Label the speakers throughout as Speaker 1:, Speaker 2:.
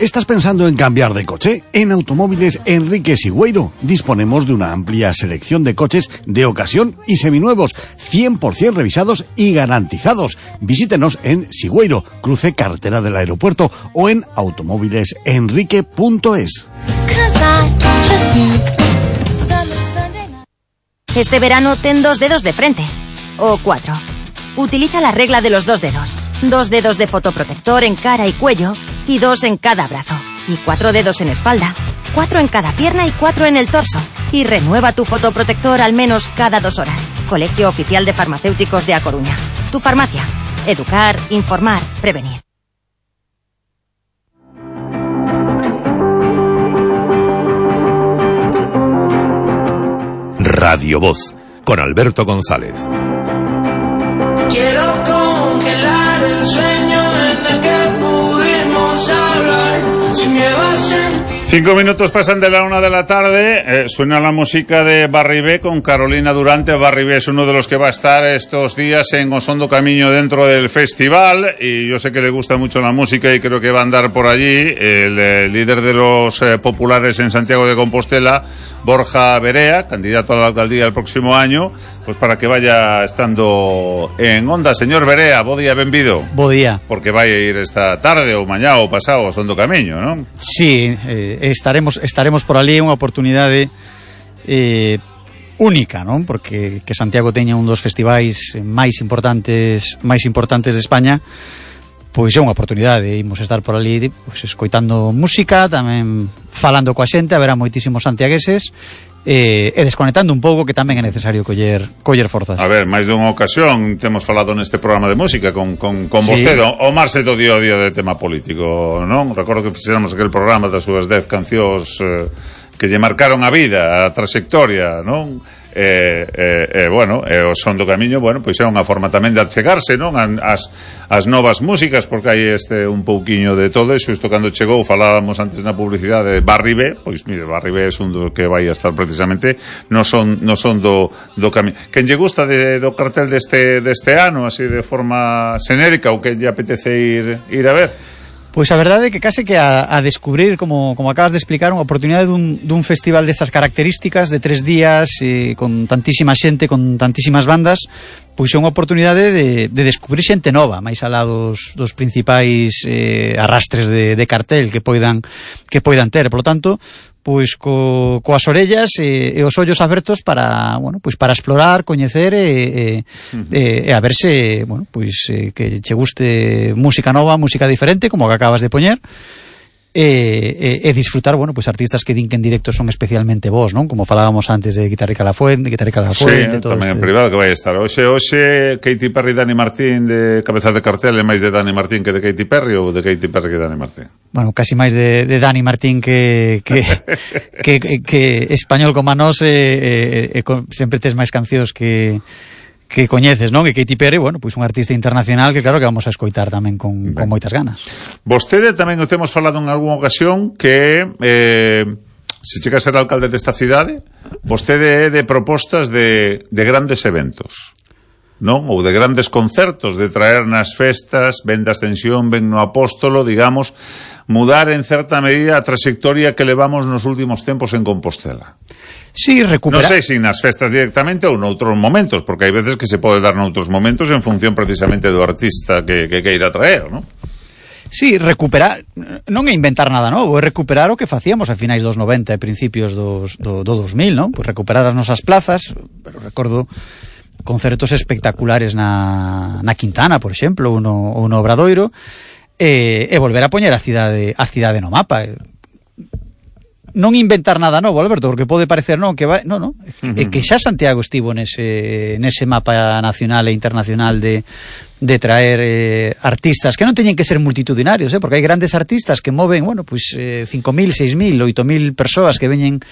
Speaker 1: ¿Estás pensando en cambiar de coche? En Automóviles Enrique Sigüeiro disponemos de una amplia selección de coches de ocasión y seminuevos, 100% revisados y garantizados. Visítenos en Sigüeiro, cruce carretera del aeropuerto, o en automóvilesenrique.es.
Speaker 2: Este verano ten 2 dedos de frente, o 4. Utiliza la regla de los 2 dedos. 2 dedos de fotoprotector en cara y cuello, y 2 en cada brazo. Y 4 dedos en espalda, 4 en cada pierna y 4 en el torso. Y renueva tu fotoprotector al menos cada 2 horas. Colegio Oficial de Farmacéuticos de A Coruña. Tu farmacia. Educar, informar, prevenir.
Speaker 3: Radio Voz, con Alberto González.
Speaker 4: Quiero congelar el sueño en el que pudimos hablar, sin miedo a sentir.
Speaker 5: 5 minutos pasan de la 1 de la tarde, suena la música de Barribé con Carolina Durante. Barribé es uno de los que va a estar estos días en Osondo Camiño dentro del festival, y yo sé que le gusta mucho la música y creo que va a andar por allí el líder de los populares en Santiago de Compostela, Borja Verea, candidato a la alcaldía el próximo año, pues para que vaya estando en onda. Señor Verea, bo día, benvido.
Speaker 6: Bo día.
Speaker 5: Porque vai a ir esta tarde ou mañá ou pasado ao Osondo Camiño, non?
Speaker 6: Sí, estaremos por ali, unha oportunidade única, non? Porque que Santiago teña un dos festivais máis importantes de España, pois é unha oportunidade. Imos estar por ali, pois, escoitando música, tamén falando coa xente, haberá moitísimos santiagueses, e desconectando un pouco, que tamén é necesario coller forzas.
Speaker 5: A ver, máis dunha ocasión temos falado neste programa de música con
Speaker 6: sí.
Speaker 5: vostede, o marse do día a día de tema político, non? Recordo que fixéramos aquel programa das súas 10 cancións que lle marcaron a vida, a trayectoria, non? Bueno, o Son do Camiño, bueno, pois é unha forma tamén de achegarse, non? As novas músicas, porque hai un pouquiño de todo, e xusto cando chegou, falábamos antes na publicidade de Barribé, pois mire, Barribé é un do que vai a estar precisamente no son do Camiño. Quen lle gusta do cartel deste ano, así de forma xenérica, ou que lle apetece ir a ver?
Speaker 6: Pois a verdade é que case que a descubrir, como acabas de explicar, unha oportunidade dun festival destas características, de 3 días, con tantísima xente, con tantísimas bandas, pois é unha oportunidade de descubrir xente nova, máis alá dos principais arrastres de cartel que poidan ter. Por lo tanto, pois coas orellas e os ollos abertos para, bueno, pois para explorar, coñecer e a verse, bueno, pois que che guste música nova, música diferente, como que acabas de poñer, e disfrutar, bueno, pois artistas que din que en directo son especialmente vos, non? Como falábamos antes de Guitarrica La Fuente,
Speaker 5: sí, tamén en privado que vai estar. Hoxe Katy Perry, Dani Martín de cabeza de cartel, é máis de Dani Martín que de Katy Perry, ou de Katy Perry que de Dani Martín?
Speaker 6: Bueno, casi máis de Dani Martín que español como a nós, sempre tes máis cancións que coñeces, non? E Katy Perry, bueno, pois un artista internacional que claro que vamos a escoitar tamén con moitas ganas.
Speaker 5: Vostede tamén o temos falado en algunha ocasión que se chega a ser alcalde desta cidade, vostede é de propostas de grandes eventos, non? Ou de grandes concertos, de traer nas festas, ben da Ascensión, ben no Apóstolo, digamos, mudar en certa medida a trayectoria que levamos nos últimos tempos en Compostela.
Speaker 6: Sí, recuperar.
Speaker 5: Non sei se nas festas directamente ou noutros momentos, porque hai veces que se pode dar noutros momentos en función precisamente do artista que queira traer, non?
Speaker 6: Sí, recuperar, non é inventar nada novo, é recuperar o que facíamos a finais dos 90 e principios do 2000, non? Pois recuperar as nosas plazas, pero recordo concertos espectaculares na Quintana, por exemplo, ou no Obradoiro, e volver a poñer a cidade no mapa. Non inventar nada novo, Alberto, porque pode parecer que que xa Santiago estivo nese mapa nacional e internacional de traer artistas que non teñen que ser multitudinarios, porque hai grandes artistas que moven, bueno, pois 5.000, 6.000, 8.000 persoas que veñen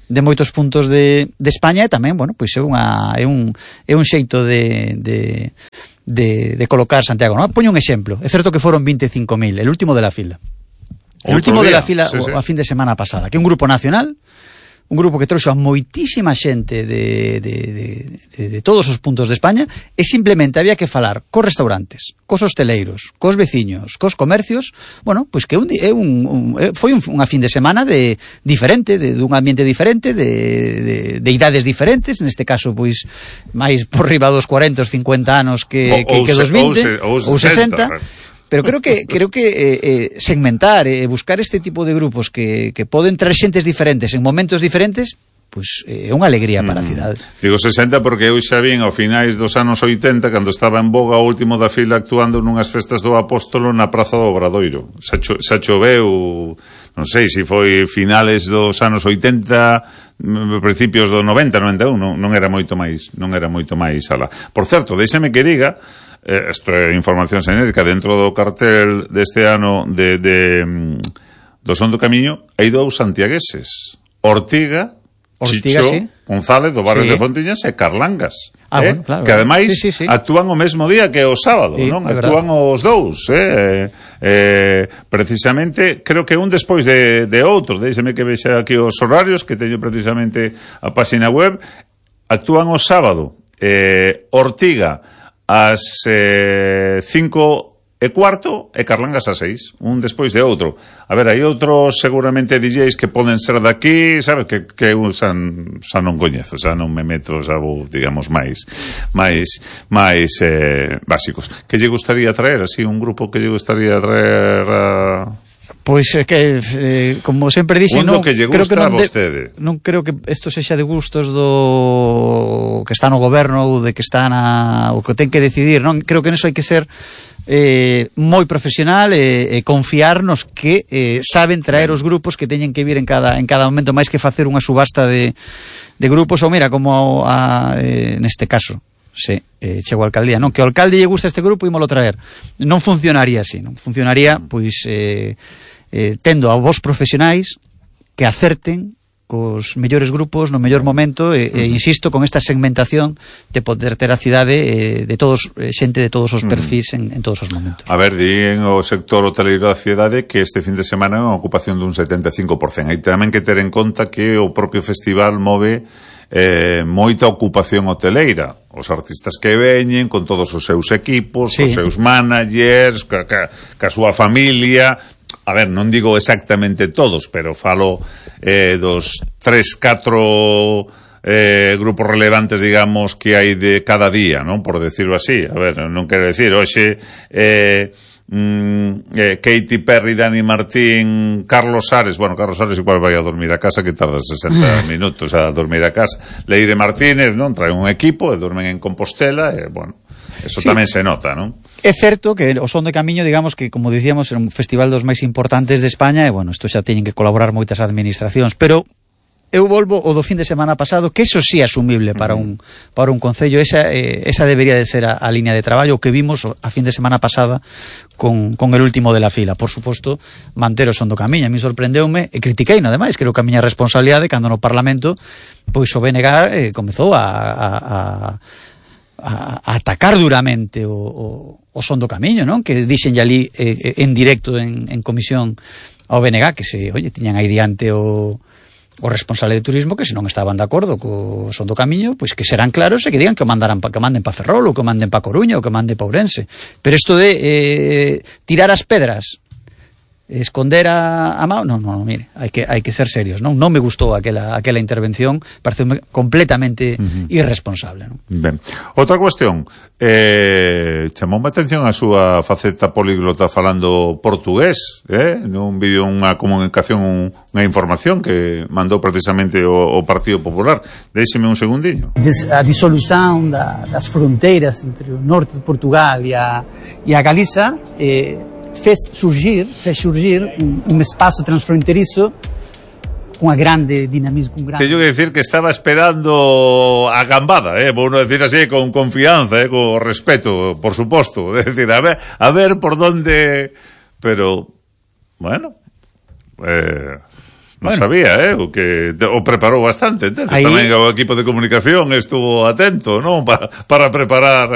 Speaker 6: de moitos puntos de España, e tamén, bueno, pois é un xeito de colocar Santiago, non? Poño un exemplo, é certo que foron 25.000, el último de la fila. El último de la fila, sí. A fin de semana pasada, que un grupo nacional un grupo que trouxo a moitísima xente de todos os puntos de España, e simplemente había que falar cos restaurantes, cos hosteleiros, cos veciños, cos comercios, bueno, pois que foi unha fin de semana diferente, dun ambiente diferente, de idades diferentes, neste caso, pois, máis por riba dos 40, 50 anos que dos 20, ou 60, pero creo que segmentar e buscar este tipo de grupos que poden traer xentes diferentes en momentos diferentes, pois é unha alegría para a cidade.
Speaker 5: Digo 60 porque eu xa vin ao finais dos anos 80, cando estaba en boga o último da fila actuando nunhas festas do Apóstolo na Praza do Obradoiro. Xa choveu, non sei se foi finales dos anos 80, principios do 90, 91, non era moito máis alá. Por certo, déxeme que diga, isto é información xenérica, dentro do cartel deste ano do Son do Camiño hai dous santiagueses, Ortiga, Chicho, sí. González do barrio de Fontiñas e Carlangas,
Speaker 6: bueno, claro,
Speaker 5: que ademais actúan o mesmo día que o sábado, non? Actúan os dous, precisamente, creo que un despois de outro. Déixeme que vexa aquí os horarios, que teño precisamente a página web. Actúan o sábado, Ortiga ás 5:15 e Carlangas ás 6, un despois de outro. A ver, hai outros seguramente DJs que poden ser daqui, sabes, que eu xa non coñezo, xa non me meto, xa vou, digamos, máis básicos. Que lle gustaría traer, así, un grupo que lle gustaría traer a...
Speaker 6: Pois é que, como sempre dixen, non
Speaker 5: que lle gusta a vostede.
Speaker 6: Non creo que isto sexa de gustos do que está no goberno ou de que está o que ten que decidir, non? Creo que neso hai que ser moi profesional e confiarnos que saben traer os grupos que teñen que vir en cada momento, máis que facer unha subasta de grupos, ou mira, como neste caso chego a alcaldía, non? Que ao alcalde lle gusta este grupo, ímolo traer. Non funcionaría así, non funcionaría, pois tendo a vos profesionais que acerten cos mellores grupos no mellor momento e insisto, con esta segmentación de poder ter a cidade de todos, xente de todos os perfis en todos os momentos.
Speaker 5: A ver, di en o sector hoteleiro da cidade que este fin de semana é unha ocupación dun 75%. Hai tamén que ter en conta que o propio festival move moita ocupación hoteleira. Os artistas que veñen con todos os seus equipos, os seus managers, ca súa familia. A ver, non digo exactamente todos, pero falo dos 3-4 grupos relevantes, digamos, que hai de cada día, non? Por decirlo así. A ver, non quero decir, hoxe Katy Perry, Dani Martín, Carlos Ares. Bueno, Carlos Ares igual vai a dormir a casa, que tarda 60 minutos a dormir a casa. Leire Martínez, non? Traen un equipo e dormen en Compostela e, bueno, eso tamén se nota, non?
Speaker 6: É certo que o Son do Camiño, digamos que, como dicíamos, é un festival dos máis importantes de España e, bueno, isto xa teñen que colaborar moitas administracións, pero eu volvo o do fin de semana pasado, que eso sí é asumible para un concello. Esa debería de ser a línea de traballo que vimos a fin de semana pasada con el último de la fila. Por suposto, manter o Son do Camiño. A mí sorprendeume, e critiquei, no ademais, creo que a miña responsabilidade cando no Parlamento pois o BNG comezou a atacar duramente o Son do Camiño, non? Que dixen ali en directo en comisión ao BNG que tiñan aí diante o responsable de turismo que se non estaban de acordo co Son do Camiño, pois que serán claros e que digan que manden pa Ferrol ou que manden pa Coruña ou que manden pa Ourense. Pero isto de tirar as pedras, esconder a mao, non, mire, hai que ser serios, non me gustou aquela intervención, pareceume completamente irresponsable, non?
Speaker 5: Ben. Outra cuestión, chamoume a atención a súa faceta políglota falando portugués, nun vídeo, unha comunicación, unha información que mandou precisamente o Partido Popular. Déixeme un segundiño.
Speaker 7: A disolución das fronteiras entre o norte de Portugal e a Galiza fez surgir un espaço transfronterizo con grande dinamismo, con grande...
Speaker 5: Teño que decir que estaba esperando a gambada, vou non decir así con confianza, con respeto, por suposto, é decir, a ver por donde, pero bueno, non sabía, o que o preparou bastante, entonces ahí... tamén o equipo de comunicación estuvo atento, non? Para preparar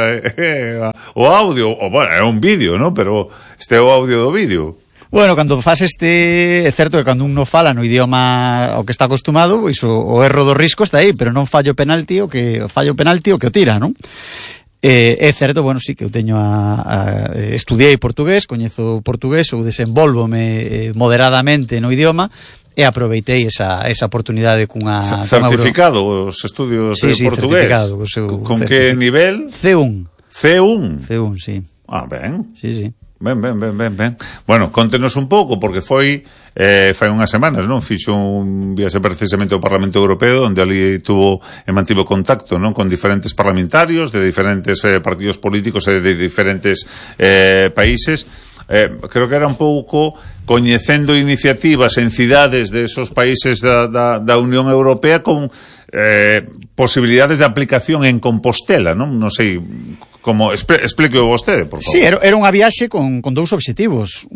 Speaker 5: o audio, o bueno, é un vídeo, non? Pero este é o audio do vídeo.
Speaker 6: Bueno, cando faz é certo que cando un non fala no idioma ao que está acostumado, pois o erro do risco está aí, pero non fallo penalti o que o tira, non? É certo, bueno, sí que eu teño estudiei portugués, coñezo portugués, ou desenvolvome moderadamente no idioma, e aproveitei esa oportunidade cunha
Speaker 5: certificado os estudios de portugués. Con que nivel?
Speaker 6: C1.
Speaker 5: C1,
Speaker 6: sí.
Speaker 5: Ben.
Speaker 6: Sí.
Speaker 5: Ben. Bueno, contenos un pouco, porque fai unhas semanas, non? Fixo un viaxe precisamente ao Parlamento Europeo, onde ali mantivo contacto, non? Con diferentes parlamentarios de diferentes partidos políticos e de diferentes países. Creo que era un pouco coñecendo iniciativas en cidades de esos países da Unión Europea con posibilidades de aplicación en Compostela, non? Non sei como explique vostede, por favor.
Speaker 6: Sí, era unha viaxe con dous obxectivos.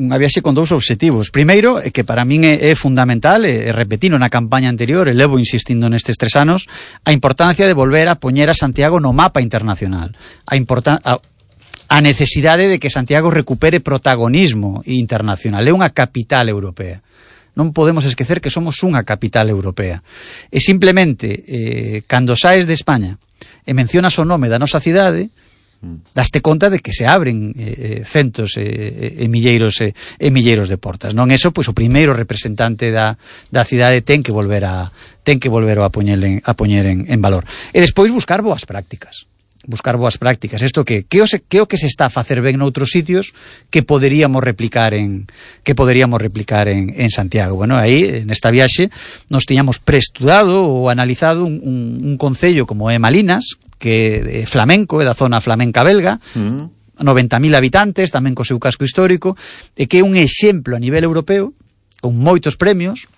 Speaker 6: Primeiro, que para min é fundamental, e repetino na campaña anterior, e levo insistindo nestes 3 anos, a importancia de volver a poñer a Santiago no mapa internacional. A necesidade de que Santiago recupere protagonismo internacional. É unha capital europea. Non podemos esquecer que somos unha capital europea. E simplemente, cando saes de España e mencionas o nome da nosa cidade, daste conta de que se abren centos e milleiros de portas, non? Eso, pois o primeiro representante da cidade ten que volver a poñer en valor. E despois buscar boas prácticas. Isto que o que se está a facer ben noutros sitios que poderíamos replicar en Santiago. Bueno, aí nesta viaxe nos tiñamos preestudado ou analizado un concello como é Malinas, que é flamenco, é da zona flamenca belga, 90.000 habitantes, tamén co seu casco histórico, e que é un exemplo a nivel europeo, con moitos premios,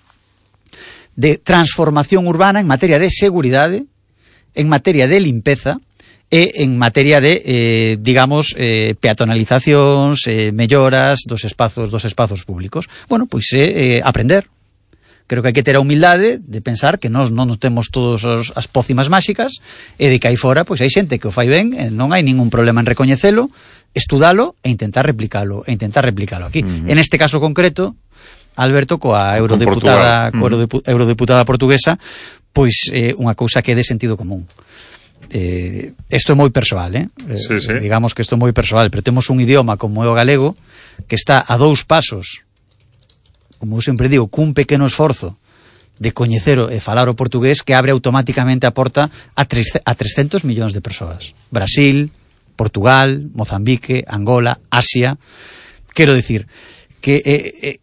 Speaker 6: de transformación urbana en materia de seguridade, en materia de limpeza, e en materia de, peatonalizacións, melloras dos espazos públicos. Bueno, pois aprender. Creo que hai que ter a humildade de pensar que nós non temos todas as pócimas máxicas e de que aí fora pois hai xente que o fai ben e non hai ningún problema en recoñecelo, estudalo e intentar replicalo aquí. En este caso concreto, Alberto, coa eurodeputada portuguesa, pois unha cousa que é de sentido común. Isto é moi persoal,
Speaker 5: sí.
Speaker 6: Digamos que isto é moi persoal, pero temos un idioma como é o galego que está a 2 pasos, como eu sempre digo, cun pequeno esforzo de coñecer e falar o portugués, que abre automáticamente a porta a 300 millóns de persoas. Brasil, Portugal, Mozambique, Angola, Asia. Quero dicir que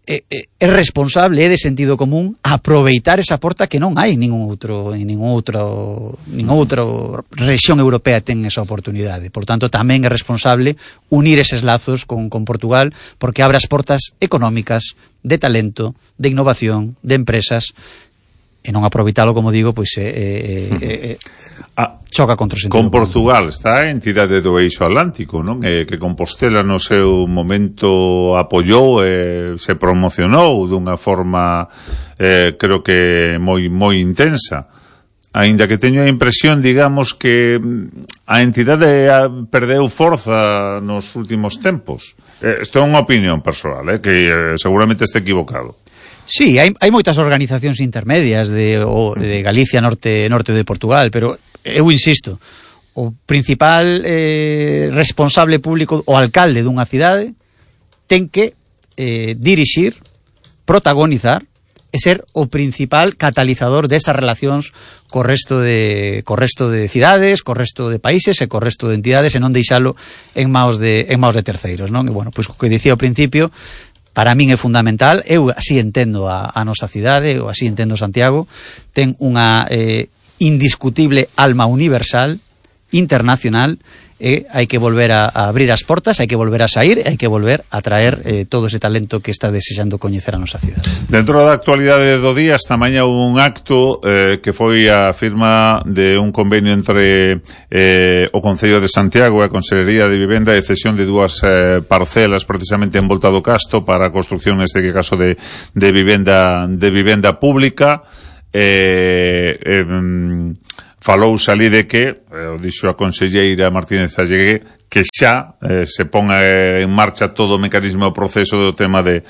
Speaker 6: é responsable, é de sentido común aproveitar esa porta que non hai en ninguna outra rexión europea ten esa oportunidade. Por tanto, tamén é responsable unir eses lazos con Portugal, porque abre as portas económicas, de talento, de innovación, de empresas, e non aproveitalo, como digo, pois choca contra o sentido.
Speaker 5: Con Portugal está a entidade do Eixo Atlántico, non? Que Compostela no seu momento apoiou e se promocionou dunha forma creo que moi intensa. Aínda que teño a impresión, digamos, que a entidade perdeu forza nos últimos tempos. Isto é unha opinión persoal, que seguramente este equivocado.
Speaker 6: Sí, hai moitas organizacións intermedias de Galicia, norte de Portugal, pero eu insisto, o principal responsable público, o alcalde dunha cidade, ten que dirixir, protagonizar e ser o principal catalizador desas relacións co resto de cidades, co resto de países e co resto de entidades, e non deixalo en maos de terceiros, non? E bueno, pois o que dicía ao principio, para min é fundamental. Eu así entendo a nosa cidade, ou así entendo Santiago, ten unha indiscutible alma universal, internacional, e hai que volver a abrir as portas, hai que volver a sair, hai que volver a traer todo ese talento que está desexando coñecer a nosa cidade.
Speaker 5: Dentro da actualidade do día, esta mañá houve un acto que foi a firma de un convenio entre o Concello de Santiago e a Consellería de Vivenda de cesión de 2 parcelas precisamente en Volta do Casto para a construción, neste caso, de vivenda pública. falouse ali de que, dixo a conselleira Martínez Allegué, que xa se ponga en marcha todo o mecanismo do proceso do tema de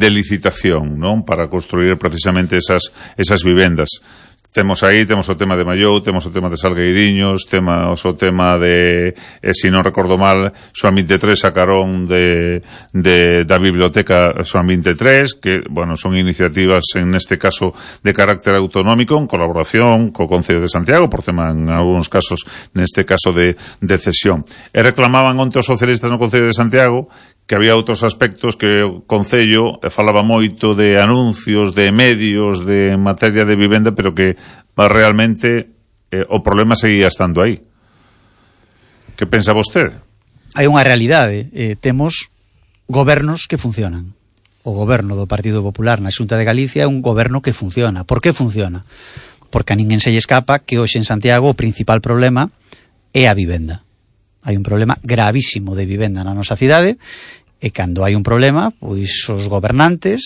Speaker 5: licitación, non? Para construir precisamente esas vivendas. Temos o tema de Mallou, temos o tema de Salgueiriños, temos o tema de, se non recordo mal, Xoán 23 sacaron da biblioteca Xoán 23, que, bueno, son iniciativas, en este caso, de carácter autonómico, en colaboración co Concello de Santiago, por tema, en algúns casos, neste caso de cesión. E reclamaban onte os socialistas no Concello de Santiago que había outros aspectos que o Concello falaba moito de anuncios, de medios, de materia de vivenda, pero que realmente o problema seguía estando aí. Que pensa vostede?
Speaker 6: Hai unha realidade, temos gobernos que funcionan. O goberno do Partido Popular na Xunta de Galicia é un goberno que funciona. Por que funciona? Porque a ninguén se lle escapa que hoxe en Santiago o principal problema é a vivenda. Hai un problema gravísimo de vivenda na nosa cidade, e cando hai un problema, pois os gobernantes